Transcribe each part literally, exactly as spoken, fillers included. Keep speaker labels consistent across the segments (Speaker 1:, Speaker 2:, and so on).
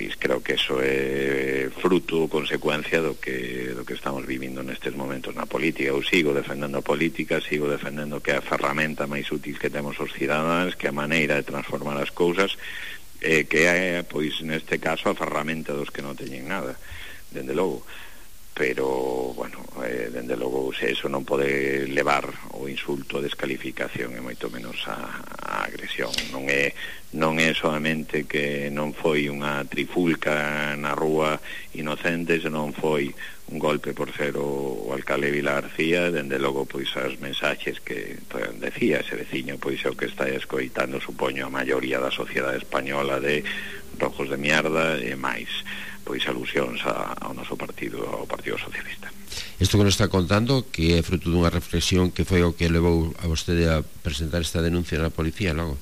Speaker 1: pois creo que eso é fruto, consecuencia do que do que estamos vivindo nestes momentos na política. Eu sigo defendendo a política, sigo defendendo que é a ferramenta máis útil que temos os cidadáns, que é a maneira de transformar as cousas, eh, que é, pois, neste caso, a ferramenta dos que non teñen nada, dende logo. Pero, bueno, eh, dende logo, se eso non pode levar o insulto, a descalificación e moito menos a, a agresión. Non é, non é solamente que non foi unha trifulca na rúa inocente, senón foi un golpe por ser o, o alcalde Vila García. Dende logo, pois, as mensaxes que pues, decía ese veciño, pois é o que está escoitando, supoño, a maioría da sociedade española, de rojos de mierda e máis, pois alusións a, ao noso partido, ao Partido Socialista.
Speaker 2: Isto que nos está contando, que é fruto dunha reflexión, que foi o que levou a vostede a presentar esta denuncia na policía logo?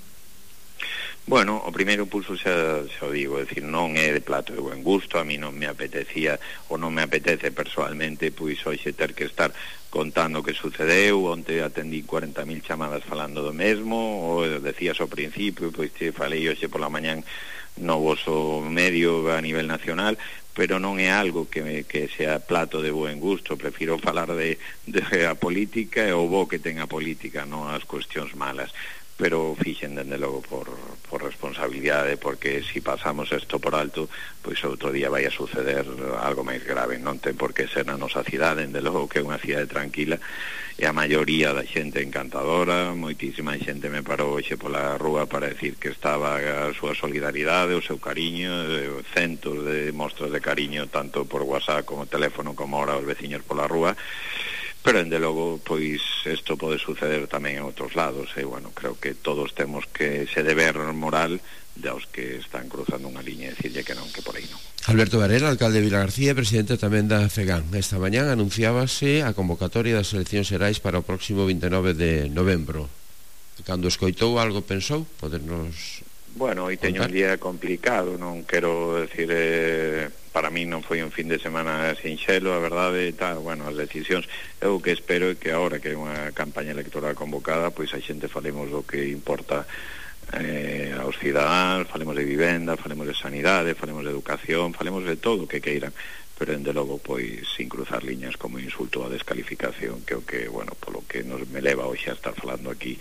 Speaker 1: Bueno, o primeiro pulso xa, xa o digo, é dicir, non é de plato de buen gusto. A mí non me apetecía, ou non me apetece personalmente, pois hoxe ter que estar contando o que sucedeu. Onte atendí cuarenta mil chamadas falando do mesmo, ou decías ao principio, pois te falei hoxe pola mañán no voso medio a nivel nacional, pero non é algo que, que sea plato de buen gusto. Prefiro falar de, de a política e o bo que ten a política, non as cuestións malas. Pero fixen dende logo por, por responsabilidade, porque se si pasamos isto por alto, pois outro día vai a suceder algo máis grave. Non ten por que ser na nosa cidade, dende logo que é unha cidade tranquila, e a maioría da xente encantadora. Moitísima xente me parou hoxe pola rúa para decir que estaba a súa solidaridade, o seu cariño, centos de mostras de cariño, tanto por WhatsApp como teléfono, como ahora os veciños pola rúa. Pero, dende logo, pois, isto pode suceder tamén en outros lados, e, bueno, creo que todos temos que ese deber moral de aos que están cruzando unha liña e dicirlle que non, que por aí non.
Speaker 2: Alberto Varela, alcalde de Vila García, presidente tamén da FEGAN. Esta mañán anunciábase a convocatoria das eleccións xerais para o próximo vinte e nove de novembro. Cando escoitou algo, pensou podernos...
Speaker 1: Bueno, hoy teño un día complicado, non quero decir, eh, para mí non foi un fin de semana sinxelo, a verdade, tal, bueno, as decisións, eu que espero é que agora que é unha campaña electoral convocada, pois a xente falemos do que importa eh, aos cidadáns, falemos de vivenda, falemos de sanidade, falemos de educación, falemos de todo o que queiran, pero dende logo, pois, sin cruzar liñas como insulto a descalificación, que é o que, bueno, polo que nos me leva hoxe a estar falando aquí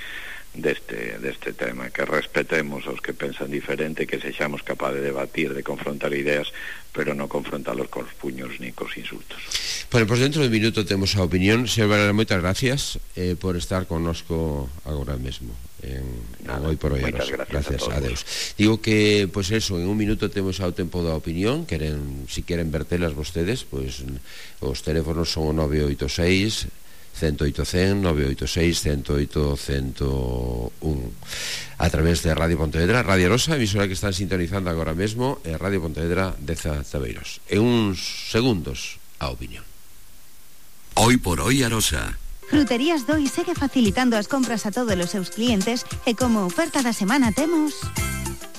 Speaker 1: deste, deste tema, que respetemos aos que pensan diferente, que sexamos capaces de debatir, de confrontar ideas, pero non confrontalos cos puños ni cos insultos.
Speaker 2: Bueno, pois dentro de un minuto temos a opinión. Señor Varela, moitas gracias eh, por estar connosco agora mesmo en, Nada, en Hoy por Hoy.
Speaker 1: Moitas gracias,
Speaker 2: gracias
Speaker 1: a todos.
Speaker 2: Adeus. Digo que, pois pues eso, en un minuto temos ao tempo da opinión. Queren, si queren vertelas vostedes, pois pues, os teléfonos son o nove oito seis cento oito cen, nove oito seis cento oito cento un, a través de Radio Pontevedra, Radio Rosa, emisora que están sintonizando agora mesmo, e Radio Pontevedra Deza Tabeiros. En uns segundos a opinión.
Speaker 3: Hoy por Hoy Arosa.
Speaker 4: Fruterías Doi segue facilitando as compras a todos os seus clientes, e como oferta da semana temos...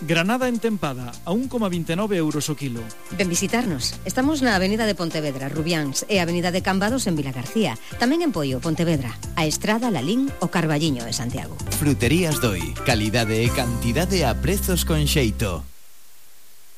Speaker 5: Granada entempada, a un coma vinte e nove euros o kilo.
Speaker 6: Ven visitarnos. Estamos na Avenida de Pontevedra, Rubiáns, e Avenida de Cambados en Vila García. Tamén en Poio, Pontevedra, a Estrada, Lalín, o Carballiño de Santiago.
Speaker 7: Fruterías Doi, calidade e cantidade a prezos con xeito.